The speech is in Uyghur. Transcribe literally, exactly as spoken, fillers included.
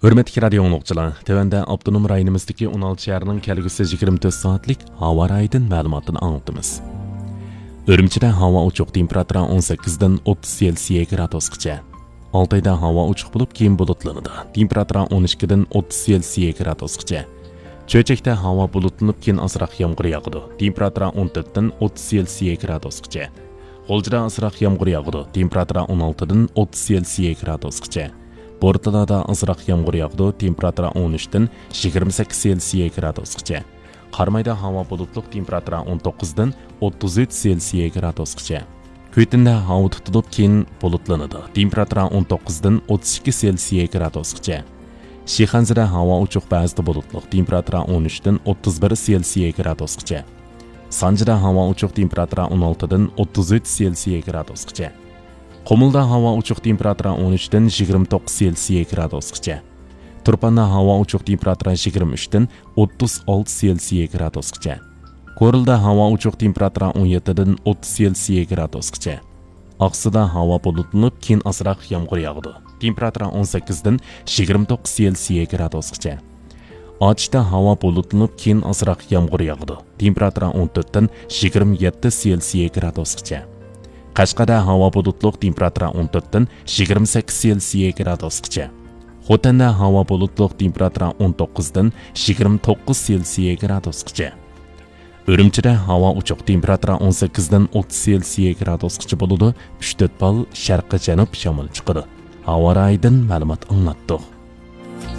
ھۆرمەتلىك رادىيو ئاڭلىغۇچىلار، تۆۋەندە ئاپتونوم رايونىمىزدىكى ئون ئالتە شەھەرنىڭ كەلگۈسى يىگىرمە تۆت سائەتلىك ھاۋا رايىدىن مەلۇماتنى ئاڭلىتىمىز. ئۈرۈمچىدە ھاۋا ئوچۇق، تېمپېراتۇرا ئون سەككىزدىن ئوتتۇز سېلسىيە گرادۇسقىچە. ئالتايدا ھاۋا ئوچۇق بولۇپ، كېيىن بۇلۇتلىنىدۇ، تېمپېراتۇرا ئون ئىككىدىن ئوتتۇز سېلسىيە گرادۇسقىچە. چۆچەكتە ھاۋا بۇلۇتلىنىپ، كېيىن ئازراق يامغۇر ياغىدۇ، تېمپېراتۇرا ئون تۆتتىن ئوتتۇز سېلسىيە گرادۇسقىچە. غۇلجىدا ئازراق يامغۇر ياغىدۇ، تېمپېراتۇرا ئون ئالتىدىن ئوتتۇز سېلسىيە گرادۇسقىچە. بورتالادا ئازراق يامغۇر ياغىدۇ، تېمپېراتۇرا ئون ئۈچتىن يىگىرمە سەككىز سېلسىيە گرادۇسقىچە. قارامايدا ھاۋا بۇلۇتلۇق، تېمپېراتۇرا ئون توققۇزدىن ئوتتۇز ئۈچ سېلسىيە گرادۇسقىچە. كۈيتىندە ھاۋا تۇتۇلۇپ، كېيىن بۇلۇتلىنىدۇ، تېمپېراتۇرا ئون توققۇزدىن ئوتتۇز ئىككى سېلسىيە گرادۇسقىچە. شىخەنزىدە ھاۋا ئوچۇق، بەزىدە بۇلۇتلۇق، تېمپېراتۇرا ئون ئۈچتىن ئوتتۇز بىر سېلسىيە گرادۇسقىچە. سانجىدا ھاۋا ئوچۇق، تېمپېراتۇرا ئون ئالتىدىن ئوتتۇز ئۈچ سېلسىيە گرادۇسقىچە. قۇمۇلدا ھاۋا ئوچۇق، تېمپېراتۇرا ئون ئۈچتىن يىگىرمە توققۇز سېلسىيە گرادۇسقىچە. تۇرپاندا ھاۋا ئوچۇق، تېمپېراتۇرا يىگىرمە ئۈچتىن ئوتتۇز ئالتە سېلسىيە گرادۇسقىچە. كورلىدا ھاۋا ئوچۇق، تېمپېراتۇرا ئون يەتتىدىن ئوتتۇز سېلسىيە گرادۇسقىچە. ئاقسۇدا ھاۋا بۇلۇتلىنىپ، كېيىن ئازراق يامغۇر ياغىدۇ، تېمپېراتۇرا ئون سەككىزدىن يىگىرمە توققۇز سېلسىيە گرادۇسقىچە. ئاچىشتا ھاۋا بۇلۇتلىنىپ، كېيىن ئازراق يامغۇر ياغىدۇ، تېمپېراتۇرا ئون تۆتتىن يىگىرمە يەتتە سېلسىيە گرادۇسقىچە. قەشقەردە ھاۋا بۇلۇتلۇق، تېمپېراتۇرا ئون تۆتتىن يىگىرمە سەككىز سېلسىيە گرادۇسقىچە. خوتەندە ھاۋا بۇلۇتلۇق، تېمپېراتۇرا ئون توققۇزدىن يىگىرمە توققۇز سېلسىيە گرادۇسقىچە. ئۈرۈمچىدە ھاۋا ئوچۇق، تېمپېراتۇرا ئون سەككىزدىن ئوتتۇز سېلسىيە گرادۇسقىچە بولىدۇ، ئۈچ تۆت بال شەرقىي جەنۇب شامىلى چىقىدۇ. ھاۋا رايىدىن مەلۇمات ئاڭلاتتۇق.